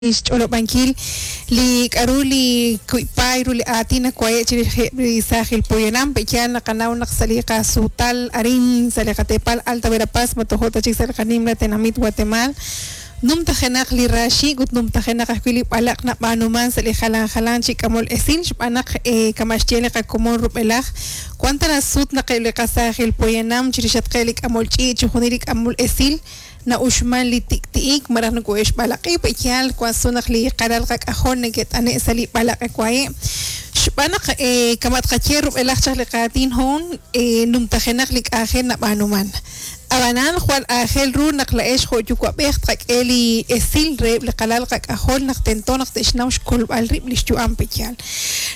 Xch'olob'ankil li k'a'ru li kuyb'aay ru li aatin nawaye' chirix li saajil poyanam pe'yaal naqanaw naq sa' li qasuutal arin sa' li qateepal Alta Verapaz ma tojo' ta chik sa' li qanimla tenamit Guatemaal numtajenaq li raaxiik' ut numtajenaq ajwi' li b'alaq' nab'aanuman sa' li jalan jalan chi k'amol esil xb'aan naq kama' xye li qakomon rub'elaj wan tana sut naq eb' li qasaajil poyanam chirixatqeb' li k'amol ch'iich' chixjunil li k'amol esil na'uxman li tik'ti'ik malaj nakohe'xb'alaq'i pe'yaal wan sut naq li qalal qak'ajol neke't'ane' sa' li b'alaq' wahe' xb'aan naq kama' tqaye rub'elaj chaq li qaatin hoon numtajenaq li k'anjel nab'aanuman ab'anan jwal aajel ru naq la'ex jo' yuwa'b'ej tqak'e li esil reheb' li qalal qak'ajol naq tento naq te'xnaw xkolb'al rib' li xyu'am pe'yaal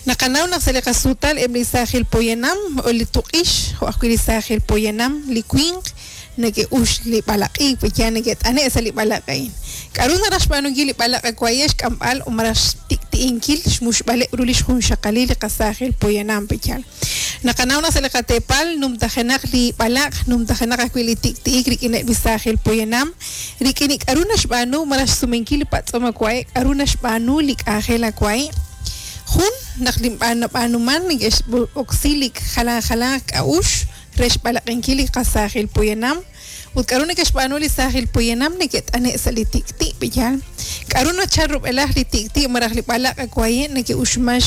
naqanaw naq sa' li qasuutal eb' li saajil poyanam li tuq'ix jo' ajwi' li saajil poyanam li winq neke'ux li b'alaq'iik pe'yaal neke't'ane' sa' li b'alaq' a'in k'a'ru naraj xb'aanunkil li b'alaq' waye' xk'amb'al o malaj xtik'ti'inkil xmuxb'aleb' ru li xjunxaqalil li qasaajil poyanam pe'yaal naqanaw naq sa' li qateepal numtajenaq li b'alaq' numtajenaq ajwi' li tik'ti'ik rik'ineb' li saajil poyanam rik'in li k'a'ru naxb'aanu malaj xsumenkil li patz'om awaye' k'a'ru naxb'aanu li k'anjel awaye' jun naq li nab'aanuman neke'x'oksi li jalan jalan k'a'uxl re xb'alaq'inkil li qasaajil poyanam ut k'a'ru neke'xb'aanu li saajil poyanam neke't'ane' sa' li tik'ti' pe'yaal k'a'ru nachal rub'elaj li tik'ti' malaj li b'alaq' waye' neke'uxman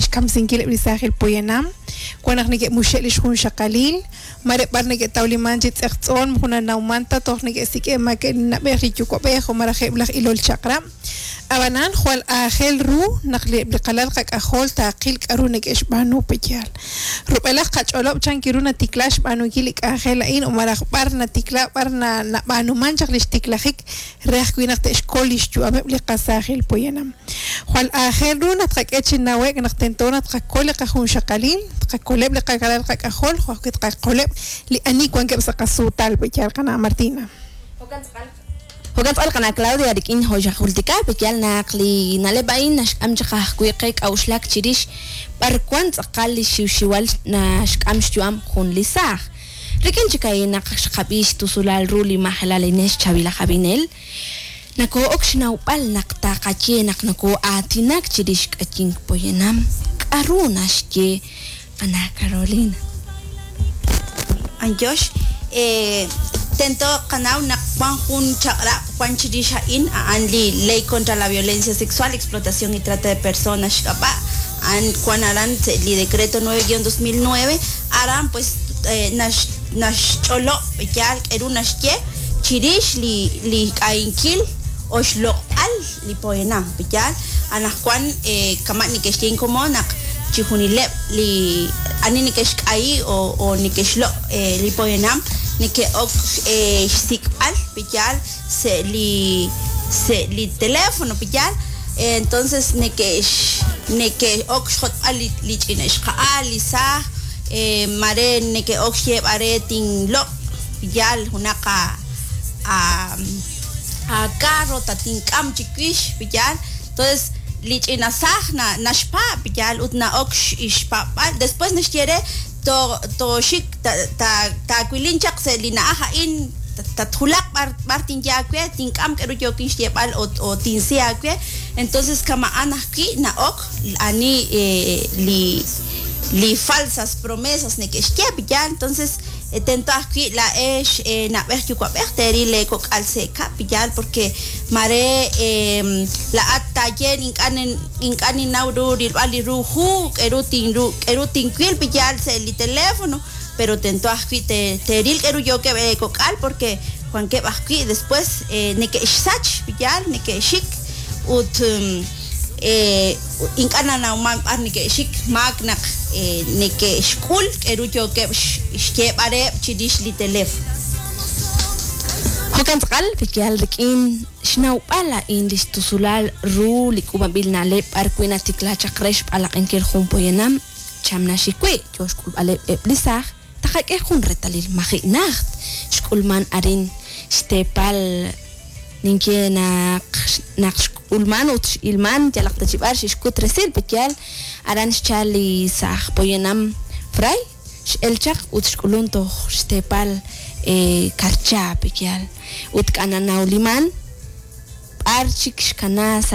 xkamsinkileb' li saajil poyanam wan naq neke'muxe' li xjunxaqalil mare b'ar neke'tawliman chi tz'eqtz'oon moko nanawman ta toj neke'sik'e' ma ke'nab'ej li yuwa'b'ej o malaj eb' laj ilol chaq'rab' ab'anan jwal aajel ru naq li qalal qak'ajol taaqil k'a'ru neke'xb'aanu pe'yaal rub'elaj qach'olob' chan kiru natikla xb'aanunkil li k'anjel a'in o malaj b'ar natikla b'ar nab'aanuman chaq li xtiklajik re ajwi' naq te'xkol li xyu'ameb' li qasaajil poyanam jwal aajel ru naq tqak'e chi nawe'k naq tento naq tqakol li qajunxaqalil tqakoleb' li qalal qak'ajol jo' ajwi' tqakoleb' li ani wankeb' sa' qasuutal pe'yaal qana' Martina. Jo'kan tz'aqal qana' Claudia rik'in jo'xajultika pe'yaal naq li na'leb' a'in naxk'am chaq ajwi' qe k'a'uxlak chirix b'ar wan tz'aqal li xiwxiwal naxk'am xyu'am jun li saaj. Rik'in chik a'in naq xqab'i xtusulal ru li majelal Inés Chavila Jabinel, nakoo'ok xnawb'al naq taqaye naq nakoo'aatinak chirix k'ayink poyanam k'a'ru naxye qana' Carolina. Anyox, tento qanaw naq wan jun chaq'rab' wan chirix a'in a'an li Ley contra la Violencia Sexual, Explotación y Trata de Personas xk'ab'a' a'an wan aran li Decreto 9-2009 aran pues naxch'olob' yaal k'eru naxye chirix li k'ayinkil o xloq'b'al li poyanam yaal anaqwan kama' neke'xye inkomon naq chijunileb' li ani neke'xk'ayi o neke'xloq' li poyanam neke'ok xsik'b'al yaal sa' li teléfono yaal entonces neke'ok xjotb'al li ch'ina xqa'al li saaj mare neke'ok xyeeb'al re tinloq' yaal junaq a carro tatink'am chiwix yaal entonces li ch'ina saaj naxpaab' yaal ut na'ok xpaab'al después naxye re toxik taawilin chaq sa' li na'aj a'in tatjulaq b'ar tinye aawe tink'am k'eru yookin xyeeb'al o tinsi aawe entonces kama'an ajwi' na'ok ani li falsas promesas neke'xye yaal entonces tento ajwi' la'ex nab'ej yuwa'b'ej teeril leekok'al sa' kab' yaal porque mare la'at taye ink'a' ninnaw ru rilb'al li ru hu k'eru tinwil yaal sa' li teléfono pero tento ajwi' teeril k'eru yookeb' leekok'al porque wankeb' ajwi' después neke'xsach yaal neke'xik ut ink'a' nanawman b'ar neke'xik maak naq neke'xk'ul k'eru yookeb' xyeeb'al reheb' chirix li teléfono. Jo'kan tz'aqal pe'yaal rik'in xnawb'al a'in li xtusulal ru li k'uub'anb'il na'leb' b'ar wi' natikla chaq re xb'alaq'inkil jun poyanam chamnaxik wi' yo xk'ulb'aleb' eb' li saaj taqak'e jun reetalil maji' najt xk'ulman arin xteepal ninye naq xk'ulman ut x'ilman yalaq ta chi b'ar xixkut resil pe'yaal aran xchal li saaj poyanam fray x'el chaq ut xk'ulun toj xteepal Karcha pe'yaal ut k'ananawliman b'ar chik xkana sa'